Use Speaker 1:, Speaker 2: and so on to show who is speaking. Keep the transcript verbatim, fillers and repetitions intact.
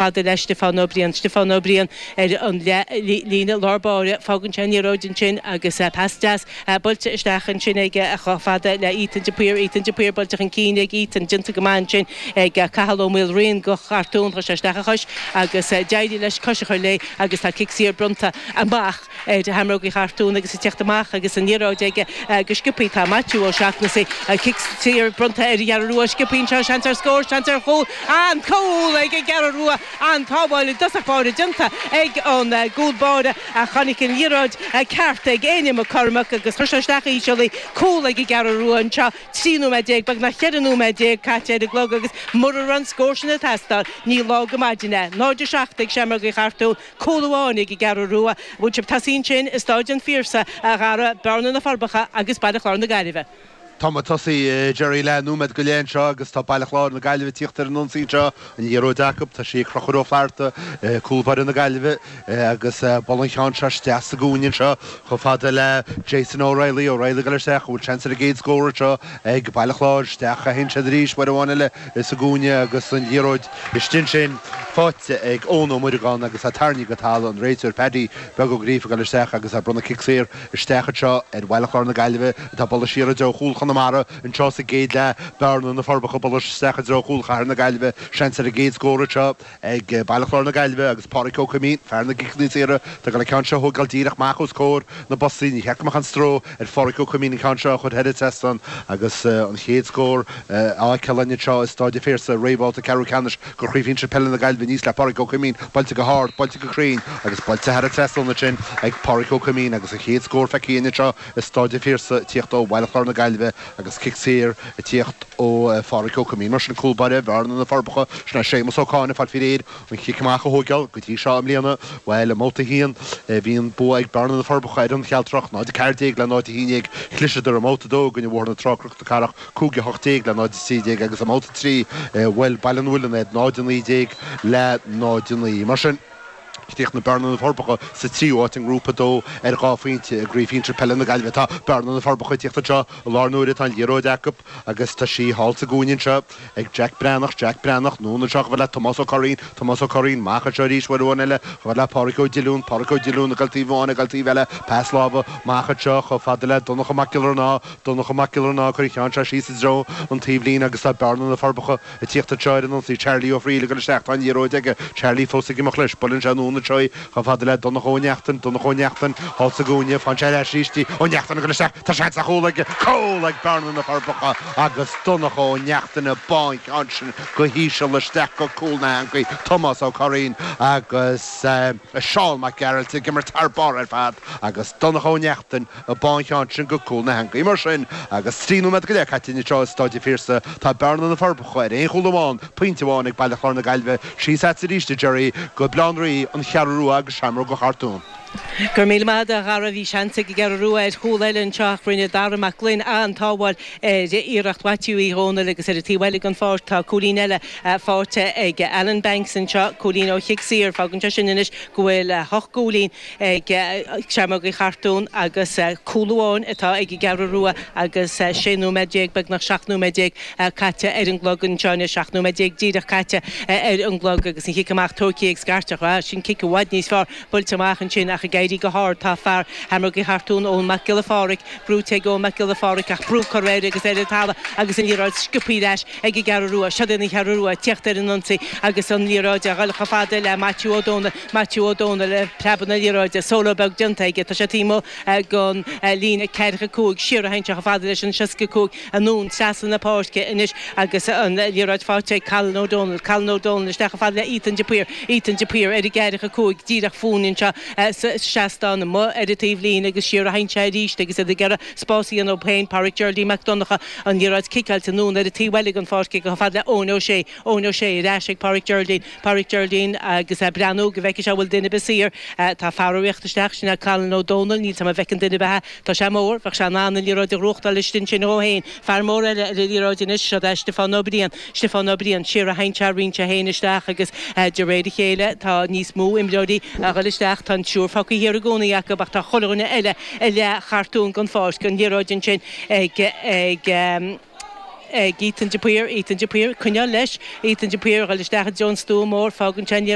Speaker 1: Fada le Stiofán Ó Briain Stiofán Ó Briain ar an líne lár báire fágann sé an liathróid ansin agus pas deas buailte isteach ansin aige chomh fada le Ethan de Paor Ethan de Paor buailte chun cinn ag Ethan déanta go maith ansin ag Cathal Ó Maoilriain go Chartún chuir sé isteach a chois agus d'éirigh leis cois a chur léi agus tá cic saor bronnta amach ar Sheamrógaí Chartún agus ag teacht amach agus an liathróid aige go sciobtha tá Maitiú Ó Seachnasaigh cic saor bronnta ar an gCeathrú Rua sciobtha anseo seans ar scór seans ar chúl an cúl ag an gCeathrú Rua an tsábháil i dtosach báire déanta ag an gcúl báire ach tháinig an liathróid ceart ag Éinne McCormack agus chuir sé isteach íseal í cúl ag an gCeathrú Rua anseo trí nóiméad déag beagnach ceithre nóiméad déag caite ar an gclog agus mura raibh an scór sin ag teastáil ní lá go maidin é. Náid a seacht ag Seamrógaí Chartún cúl amháin ag an gCeathrú Rua. Bhfuil sibh tosaí ansin i Stáid an Phiarsaigh a Dhara, Bearna na Forbacha agus Baile Chláir na Gaillimhe.
Speaker 2: Tá muid tosaithe Jerry leath nóiméad go leith anseo agus tá Baile Chláir na Gaillimhe ag tíocht ar an ionsaí anseo, an liathróid acu, tá sí ag Conchúr Ó Flatharta, cúl báire na Gaillimhe agus bualadh an ceann seo isteach sa gcúinne anseo chomh fada le Jason O'Reilly, O'Reilly ag dul isteach, an bhfuil seans ar an gcéad scór anseo ag Baile Chláir, isteach a théann siad arís uair amháin eile sa gcúinne agus an liathróid istigh ansin faighte ag Eoin Ó Muireagáin agus é tarraingthe go talamh, an réiteoir Paddy Beag Ó Gríofa ag dul isteach agus é ag bronnadh cic saor isteach anseo ar Bhaile Chláir na Gaillimhe atá ag bualadh siar i dtreo chúl Chonamara anseo sa gcéad leath. Bearna na Forbacha ag bualadh isteach i dtreo chúl Chathair na Gaillimhe. Seans ar an gcéad scór anseo ag Baile Chláir na Gaillimhe agus Pádraic Ó Coimín, fear na gciceanna saora, atá ag dul an ceann seo a thógáil díreach amach os comhair na boise. Ní cheart go mbeadh aon stró ar Phádraic Ó Coimín an ceann seo a chur thar an trasnán agus an chéad scór á fheiceáil againn anseo i Stáid an Phiarsaigh roimh bhabhta ceathrú ceannais de Chraobh Shinsir Peile na Gaillimhe aníos le Pádraic Ó Coimín, buailte go hard, buailte go cruinn agus buailte thar an trasnán ansin ag Pádraic Ó Coimín agus an chéad scór feicthe againn anseo i Stáid an Phiarsaigh ag tíocht ó Bhaile Chláir na Gaillimhe agus cic saor ag tíocht ó Phádraic Ó Coimín. Mar sin, cúl báire Bhearna na Forbacha, sin é Séamus Ó Cáin ag fáil faoi réir an chic amach a thóigeáil go dtí seo i mbliana. Bhuel, i mbabhta a haon, bhí an bua ag Bearna na Forbacha ar an Chealtrach, náid a ceathair déag le náid a haon déag. Chliseadar i mbabhta a dó i gcoinne Bhóthar na Trá Cnoc na Cathrach, cúig a hocht déag le náid a trí déag agus i mbabhta a trí, bhuail Baile an Mhuilinn iad, náid a naoi déag le náid a naoi. Mar sin, chríochnaigh Bearna na Forbacha sa tríú háit i nGrúpa a dó ar dhá phointe i gCraobh Shinsir Peile na Gaillimhe. Tá Bearna na Forbacha ag tíocht anseo i láthair na huaire, tá an liathróid acu agus tá sí thall sa gcúinne anseo ag Jack Breathnach, Jack Breathnach, anonn anseo chomh fada le Tomás Ó Curraoin, Tomás Ó Curraoin, amach anseo arís uair amháin eile chomh fada le Pádraic Ó Diollúin, Pádraic Ó Diollúin ag dul taobh amháin ag dul taobh eile, pas láimhe amach anseo chomh fada le Donncha Mac Giolla Raithneá, Donncha Mac Giolla Raithneá ag cur an cheann seo síos i dtreo an taobhlíne agus tá Bearna na Forbacha ag tíocht anseo ar an ionsaí. Charlie Ó Frighil ag dul isteach. Tá an liathróid aige. Charlie fós ag imeacht leis. Buaileann sé anonn anseo í chomh fada le Donncha Ó Neachtain. Donncha Ó Neachtain thall sa gcúinne. Faigheann sé ar ais arís í. Ó Neachtain ag dul isteach. Tá seans ar chúl aige. Cúl ag Bearna na Forbacha agus Donncha Ó Neachtain ag bá an ceann sin go híseal isteach go cúl na heangaí. Tomás Ó Curraoin agus Seán Mac Gearailt ag imirt thar barr ar fad agus Donncha Ó Neachtain ag bá an cheann sin go cúl na heangaí. Mar sin, agus trí nóiméad go leith caite anseo i Stáid an Phiarsaigh, tá Bearna na Forbacha ar aon chúl amháin, pointe amháin ag Baile Chláir na Gaillimhe. Síos agatsa arís, a Gerry, go Baile Átha an Rí, An Cheathrú Rua agus Seamróga Chartún.
Speaker 1: Go raibh míle maith agat, a Dhara. Bhí seans ag an gCeathrú Rua ar chúl eile anseo ach rinne Dara Mac Gloinn an-tsábháil ar iarracht Mhaitiú Uí Dhónaill agus ar an taobh eile den pháirc tá cúilín eile faighte ag Alan Banks anseo, cúilín ó chic saor. Fágann sé sin anois go bhfuil hocht gcúilín ag Seamrógaí Chartún agus cúl amháin atá ag an gCeathrú Rua agus sé nóiméad déag, beagnach seacht nóiméad déag caite ar an gclog anseo anois, seacht nóiméad déag díreach caite ar an gclog agus an chic amach tógtha ag Scairteach. Ah, sin cic i bhfad níos fearr buailte amach ansin ach ag éirí go hard tá fear Sheamrógaí Chartún, Eoin Mac Giolla Phádraig, brúite ag Eoin Mac Giolla Phádraig ach brú curtha air agus ar an talamh agus an liathróid sciobtha ar ais ag an gCeathrú Rua. Seo iad an Cheathrú Rua ag tíocht ar an ionsaí agus an liathróid a dhul chomh fada le Maitiú Ó Dónaill. Maitiú Ó Dónaill ag preabadh na liathróide, solo beag déanta aige, tá sé taobh amuigh den líne ceathracha cúig, siar a théann sé chomh fada leis an seasca cúig, anonn trasna na páirce anois agus an liathróid faighte ag Colin O'Donnell, Colin O'Donnell isteach chomh fada le Ethan de Paor, Ethan de Paor ar an gceathracha cúig, díreach fúinn anseo sa seastán amuigh ar an taobhlíne agus siar a théann sé arís agus iad ag iarraidh spás a dhéanamh dóibh féin, Pádraic Geraldine Mac Donncha, an liathróid ciceáilte anonn ar an taobh eile den pháirc aige chomh fada le Eoin O'Shea, Eoin O'Shea ar ais ag Pádraic Geraldine, Pádraic Geraldine agus ag breathnú go bhfeicfidh sé an bhfuil duine ar bith saor. Tá fear ag rith isteach, sin é Colin Ó Dónaill, níl 's a'm an bhfeiceann duine ar bith é. Tá sé mór, bheadh sé in ann an liathróid a ghnóthachtáil istigh ansin dhó féin. Fear mór eile ar an liathróid anois, seo é Stiofán Ó Briain. Stiofán Ó Briain, siar a théann sé, roinnt sé féin isteach agus de réir a chéile tá níos mó imreoirí a dhul isteach. Tá an triúr fágtha thiar i gcónaí acu ach tá chuile dhuine eile i leath Chartún den pháirc. An liathróid ansin ag ag. ag Ethan de Paor Ethan de Paor coinneáil leis Ethan de Paor isteach John Stú mór fágann sin